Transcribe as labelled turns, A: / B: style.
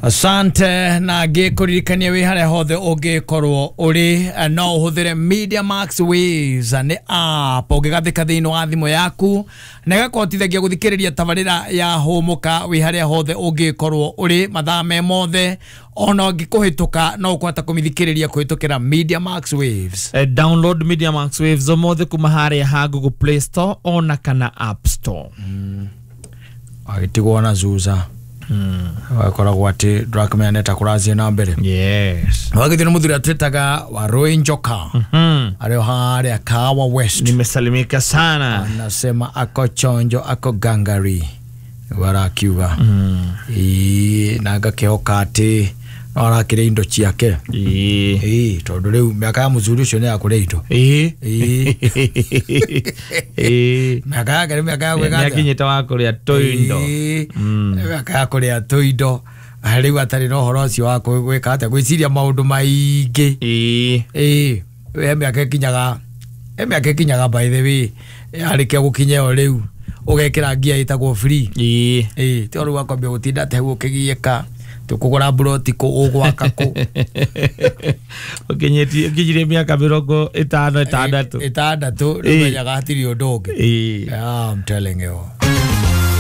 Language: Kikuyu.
A: Asante. Na ngĩkũririkania wĩ harĩa hothe ũngĩkorwo ũrĩ, no ũhũthĩre Media Max Waves. Nĩ app ũngĩgathĩka thĩinĩ wa thimũ yaku na ĩgakũhotithagia gũthikĩrĩria tabarĩra ya Hũmũka wĩ harĩa hothe ũngĩkorwo ũrĩ mathaa me mothe, ona ũngĩkũhĩtũka no ũkũhota kũmĩthikĩrĩria kũhĩtũkĩra Media Max Waves.
B: Download Media Max Waves ũmũthĩ kuma harĩa ha Google Play Store ona kana App Store.
A: Agĩtigwo na zuza wakoragwo atĩ ndũrakĩmenya nĩ ta kũrathiĩ na mbere. Wagĩthiĩ nĩ mũthuri atwĩtaga Warũi Njoka, arĩ o harĩa Kahawa West.
B: Nimesalimika sana.
A: Anasema ako chonjo, ako gangari, nĩguo arakiuga. Ĩĩ, na ngakĩhoka atĩ no arakĩrĩa indo ciake. Ĩĩ, tondũ rĩu mĩaka ya mũthuri ũcio nĩ ya kũrĩa indo. Ĩĩ. Mĩaka yake nĩ mĩaka ya gwĩka atĩa?
B: Nĩakinyĩte wa kũrĩa tũindo.
A: Ĩĩ, mĩaka ya kũrĩa tũindo, rĩu atarĩ na ũhoro ũcio wa gwĩka atĩa, gwĩciria maũndũ maingĩ. Ĩĩ, he mĩaka ĩkinyaga, he mĩaka ĩkinyaga, by the way, yarĩkia gũkinya ĩyo rĩu ũgekĩra ngia ĩtagwo free. Ĩĩ, ti rĩu akwambia gũtinda atĩ hau ũkĩgiĩka tũkũgũra mburoti kũ, ũgwaka kũ.
B: Ũkinyirie mĩaka 56.
A: 60 rĩu, menyaga hatirĩ ũndũ ũngĩ. Yeah, I'm telling you.